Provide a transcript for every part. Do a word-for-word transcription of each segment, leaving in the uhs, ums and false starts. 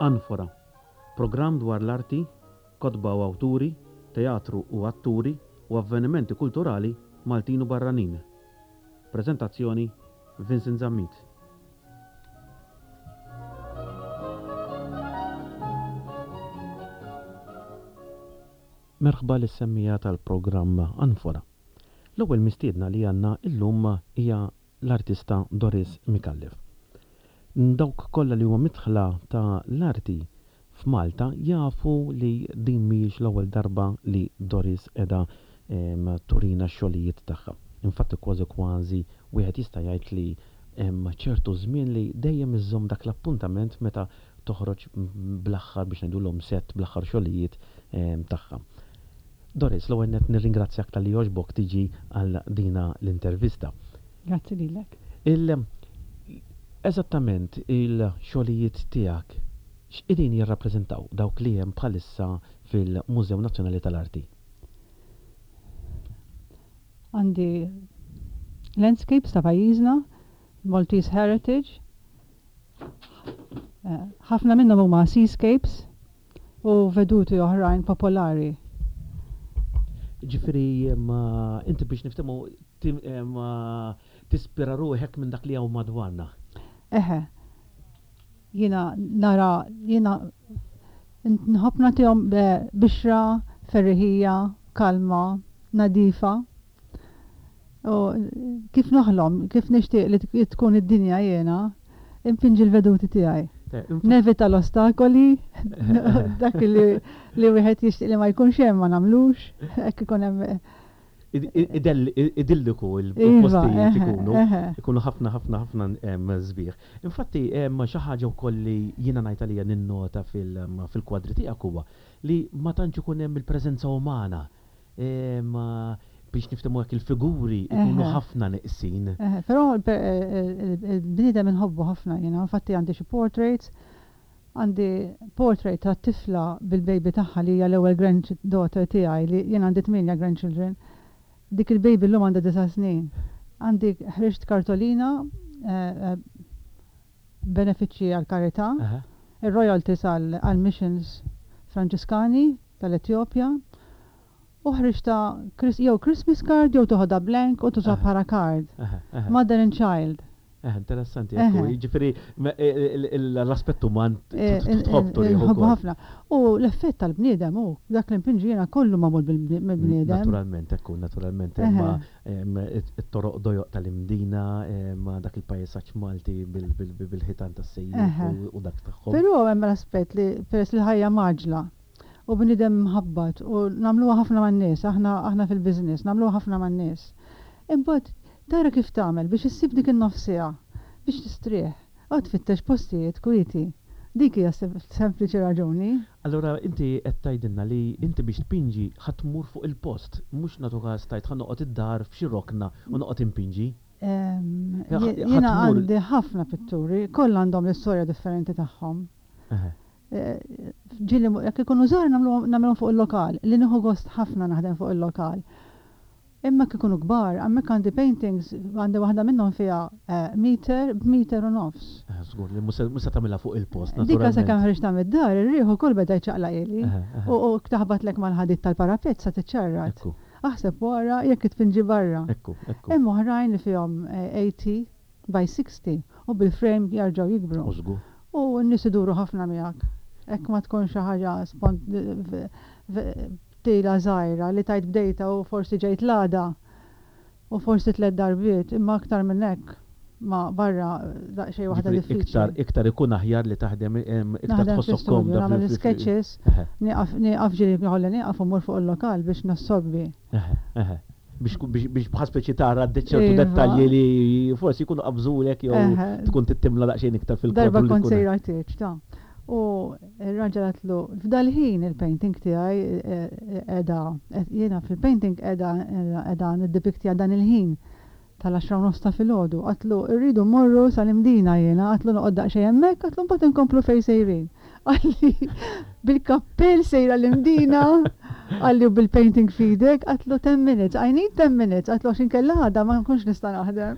Anfora, programm dwar l-arti, kotba u awturi, teatru u atturi u avvenimenti kulturali Maltin u barranin. Preżentazzjoni Vincent Zammit. Merħba lis-semmiegħa tal-programm Anfora. L-ewwel mistiedna li għandna illum hija l-artista Doris Micallef. Dawk kollha li huma midħla ta' l-arti f'Malta jafu li din mhijiex l-ewwel darba li Doris qiegħda turina x-xogħlijiet tagħha. Infatti kważi kważi wieħed jista' jgħid li hemm ċertu żmien li dejjem iżżomm dak l-appuntament meta toħroġ bl-aħħar biex ngħidulhom set bl-aħħar xogħlijiet tagħha. Doris, l-ewwel nett nirringrazzjak talli għoġbok tiġi għal dina l-intervista. Grazzi lilek. Il Eżattament il-xogħlijiet tiegħek x'qegħdin jirrappreżentaw dawk li hemm bħalissa fil-Mużew Nazzjonali tal-Arti? Għandi landscapes ta' pajjiżna, Maltese Heritage. Eh, ħafna minnhom huma seascapes u veduti oħrajn popolari. Ġifieri inti biex niftehmu tispira ruħek minn dak li hawn madwarna. Eħe. Jiena nara, jiena nħobb nagħtihom bixra, ferriħija, kalma, nadifa. U kif noħlom, kif nixtieq li tkun id-dinja jiena, impinġi l-veduti tiegħi. Nevita l-ostakoli, dak li li wieħed jixtieq li ma jkunx hemm ma nagħmlux, hekk ikun hemm Idilliku Iva, il-postijiet eħe, ikunu, eħe. ikunu ħafna ħafna ħafna sbieħ. Infatti hemm xi ħaġa wkoll li jiena ngħid għalija ninnota fil-kwadri tiegħek huwa li ma tantx ikun hemm il-preżenza umana. Biex niftehmu hekk il-figuri ikunu ħafna neqsin. Però il-bniedem inħobbu ħafna jiena, infatti għandi xi portraits, għandi portrait ta' tifla bil-baby tagħha li hija l-ewwel granddaughter tiegħi li jien għandi tmienja grandchildren. Dik il-baby llum għandha disa' snin. Għandi ħriġt kartolina eh, eh, benefiċċji għall-karità, ir-royalties għall-missions Franġiskani tal-Etjopja. U ħriġta jew Christmas card jew toħodha blank u tuża bħala card. Mother and child. Eh, interessanti, ekku, ġifieri l-aspett uman tħobb turieh ukoll. ħafna. U l-effett tal-bniedem hu dak li npinġi jiena kollu magħmul bil-bniedem. Naturalment, ekku, naturalment, imma it-toroq dojoq tal-Imdina, ma dak il-pajsaġġ Malti bil-ħitan tas-sejjieħ u dak tagħhom. Però hemm l-aspett li peress li l-ħajja mgħaġġla u bniedem mħabbat u nagħmluha ħafna man-nies, aħna aħna fil-business, nagħmluha ħafna man-nies. Imbagħad tara kif tagħmel biex issib dik in-nofs siegħa biex tistrieħ u tfittex postijiet kwieti. Dik hija sempliċi raġuni. Allura inti qed tgħidilna li inti biex tpinġi ħa tmur fuq il-post, mhux nagħtu każ tgħid ħa noqgħod id-dar f'xi rokna u noqgħod inpinġi. Jiena għandi ħafna pitturi, kollha għandhom l-istorja differenti tagħhom. Ġieli jekk ikunu żgħar nagħmluhom fuq il-lokal, li nieħu gost ħafna naħdem fuq il-lokal. Imma jekk ikunu kbar, hemmhekk għandi paintings, għandi waħda minnhom fiha eh, meter b'meter u nofs. Eh, żgur li mhux se tagħmilha fuq il-post, Dik sakemm ħriġtha mid-dar, ir-riħ ukoll beda jċaqlaq ili. U taħbatlek mal-ħadid tal-parapet sa tiċċarrat. Aħseb wara jekk tpinġi barra. Ekku, ekku. Hemm oħrajn li fihom tmenin eh, by sittaħxin u bil-frame jarġgħu jikbru. U n-nies iduru ħafna miegħek. Hekk ma tkun xi ħaġa tila żgħira li tajt bdejta u forsi ġejt l-għada u forsi tliet darbiet, imma aktar minn hekk ma barra daqsxejn waħda diffiċli. Iktar iktar ikun aħjar li taħdem iktar tħossok komda. Nagħmel sketches, nieqaf ġieli nħolli nieqaf u mmur fuq il-lokal biex nassorbi. Biex bħal speċi tara ċertu iva. dettalji li forsi jkunu qabżulek jew tkun tittimla daqsxejn iktar fil Darba kont sejra tieġ, ta' U r-raġel għatlu, f'dal-ħin il-painting tiegħi qiegħda, jiena fil-painting qiegħda qiegħda niddepiktja dan il-ħin tal-għaxra u nofs ta' filgħodu. Għatlu, irridu mmorru sal-Imdina jiena, għatlu noqgħod daqsxejn hemmhekk, għatlu mbagħad inkomplu fejn sejrin. Qalli, bil-kappell sejra l-Imdina. Qalli bil-painting f'idek, għedtlu ten minutes, I need ten minutes, għedtlu għax inkella għada ma nkunx nista' naħdem.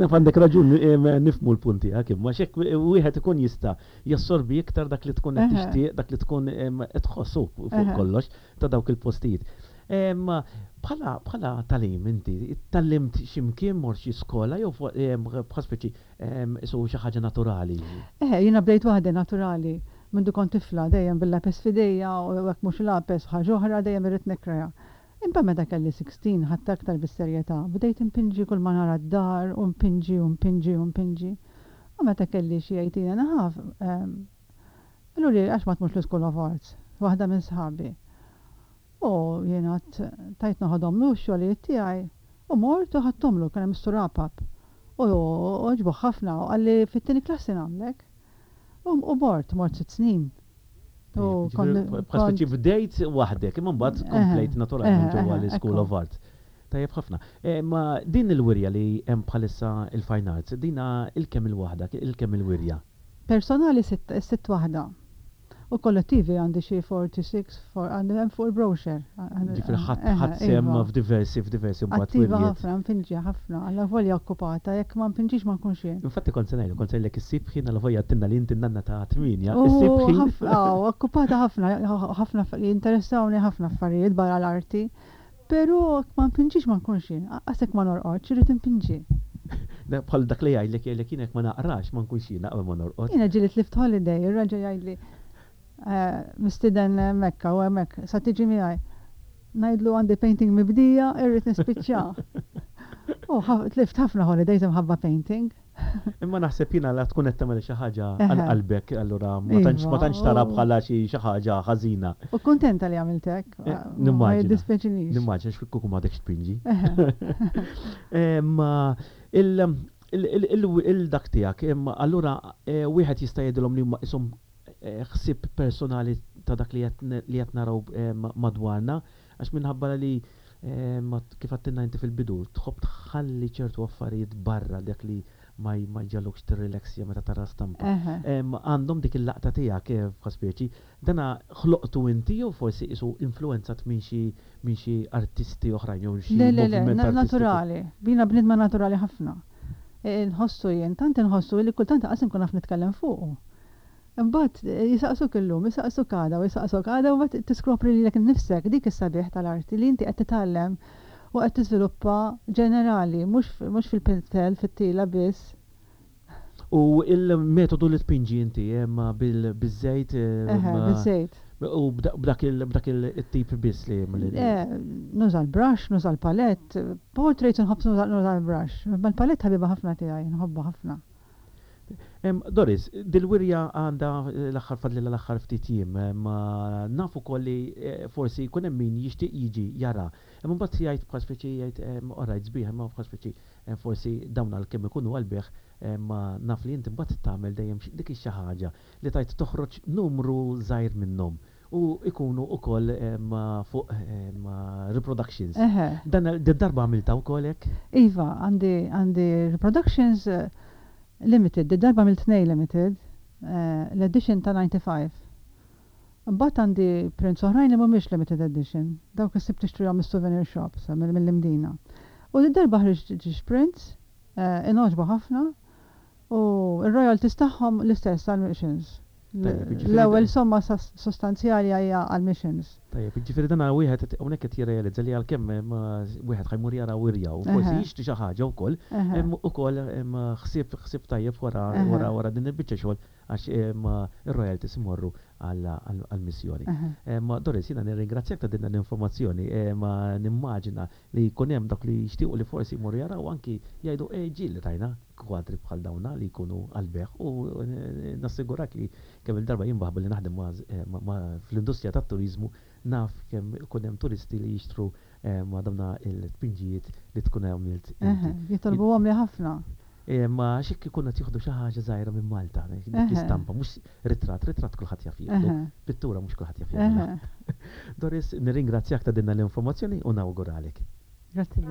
Naf għandek raġun, nifhmu l-punti, ma xek wieħed ikun jista' jassorbi iktar dak li tkun qed tixtieq, dak li tkun qed tħossu fuq kollox ta' dawk il-postijiet. Bħala bħala tagħlim inti, tgħallimt x'imkien, mort xi skola jew bħal speċi isu xi ħaġa naturali? Eh, jiena bdejt waħda naturali. Mindu kont tifla dejjem bil-lapes f'idejja u hekk mhux lapes ħaġa oħra, dejjem irrid nikkrea. Imma meta kelli sittax ħadt aktar bis-serjetà, bdejt impinġi kull ma nara d-dar u mpinġi u mpinġi u mpinġi. U meta kelli xi eighteen and a half, qaluli għax ma tmurx l-School of Arts, waħda minn sħabi. U jiena tajt noħodhomlu x-xogħlijiet tiegħi u mort u ħadthomlu, kien hemm Mister Apap. U għoġbu ħafna u qalli fit-tieni klassi nagħmlek. U mort, mort sitt snin. Bħal bdejt waħdek, imma mbagħad komplejt naturalment ġewwa l-School of Art. Tajjeb ħafna. Ma din il-wirja li hemm bħalissa il-Fine Arts, dina il-kemm il-waħda, il-kemm il-wirja? Personali sitt waħda. U kollettivi għandi xi forty-six, għandi hemm fuq il-brochure. Ġifieri ħadt sehem iva. f'diversi f'diversi mbagħad. Attiva ħafna, mpinġi ħafna, alla volja okkupata, jekk ma mpinġix ma nkunx jien. Infatti kont se ngħidu, kont se ngħidlek issib ħin, alla volja tinna li inti nanna ta' tmienja. Issib ħin. Okkupata ħafna, ħafna jinteressawni ħafna affarijiet barra l-arti. Però ma mpinġix ma nkunx jien, għasek ma norqodx, irrid impinġi. Bħal dak li jgħidlek jgħidlek jien ma naqrax ma nkunx jiena qabel ma norqod. Jiena ġieli tlift holiday, ir-raġel jgħidli eh, mistieden Mekka u hemmhekk, sa tiġi miegħi. Ngħidlu għandi painting mibdija, irrid nispiċċa. U tlift ħafna holidays imħabba painting. Imma naħseb jiena la tkun qed tagħmel xi ħaġa għal qalbek, allura ma tantx ma tantx tara iva, bħala xi xi ħaġa ħażina. U kuntenta li għamilt hekk. Eh, nimmaġina. Nimmaġina x'kieku m'għadekx tpinġi. Ma il-dak tiegħek, allura eh, wieħed jista' jgħidilhom li huma ishom eh, ħsieb personali ta' dak li qed naraw madwarna, għax minħabba li kif għedtilna inti fil-bidu, tħobb tħalli ċertu affarijiet barra dak li ma jġagħlukx tirrilaxja meta tara stampa. Għandhom dik il-laqta tiegħek eh, speċi, dana ħloqtu inti jew forsi isu influenzat minn xi minn xi artisti oħrajn jew xi Le, le, le, naturali. Jiena bniedma naturali ħafna. E, nħossu jien, tant nħossu li kultant qas inkun naf nitkellem fuqu. Imbagħad eh, jisaqsuk illum, jisaqsuk għada u jisaqsuk għada u mbagħad tiskopri lilek innifsek. Dik is-sabiħ tal-arti li inti qed titgħallem u qed tiżviluppa ġenerali, mhux fil-pinzel, fit-tila biss. U il-metodu li tpinġi inti bil-żejt? Bil-żejt. U b'dak il-tip biss li. Nuża l-brush, nuża l-palette, portraits nħobb nuża l-brush. Ma l-palette ħabiba ħafna tiegħi, nħobbha ħafna. Doris, dil-wirja għandha l-aħħar fadlilha l-aħħar ftit jiem, ma nafu kolli eh, forsi jkun hemm min jixtieq jiġi jara. Imma mbagħad jgħid bħal speċi jgħid orajt sbieħ, imma bħal speċi forsi dawn għal kemm ikunu għall-bejgħ, ma naf li inti mbagħad tagħmel dejjem dik xi ħaġa li tajt toħroġ numru żgħir minnhom u ikunu ukoll fuq reproductions. Dan darba għamilta wkoll hekk? Iva, għandi għandi reproductions eh, limited, di darba għamilt tnejn limited, eh, l-edition ta' disgħa u disgħin. Mbagħad għandi prints oħrajn li mhumiex limited edition, dawk issib tixtrihom mis-souvenir shops mill-Imdina. U di darba ħriġt ġiex prints, eh, ingħoġbu ħafna, u il-royalties tagħhom l-istess għal-missions. L-ewwel somma sostanzjali hija għal-missions. Tajjeb, ġifieri dan wieħed hawnhekk qed jirrealizza li għalkemm wieħed ħa jmur jara wirja u forsi jixtri xi ħaġa wkoll, ukoll ħsieb ħsieb tajjeb wara wara wara din il-biċċa xogħol għax ir-royalties imorru għall-missjoni. Doris, jiena nirringrazzjak ta' din l-informazzjoni, ma nimmaġina li jkun hemm dak li jixtiequ li forsi jmorru jaraw, anki jgħidu ej ġieli rajna kwadri bħal dawna li jkunu għall-bejgħ, u nassigurak li kemm il-darba jimbaħbu li naħdem fl-industrija tat-turizmu, naf kemm ikun hemm turisti li jixtru ma' dawna il-tpinġijiet li tkun għamilt. Jitolbuhom li ħafna. Ma xik ikun qed jieħdu xi ħaġa żgħira minn Malta, dik l-istampa, mhux ritratt, ritratt kulħadd jaf jieħdu, pittura mhux kulħadd jaf jagħmilha. Doris, nirringrazzjak ta' din l-informazzjoni u nawguralek. Grazzi.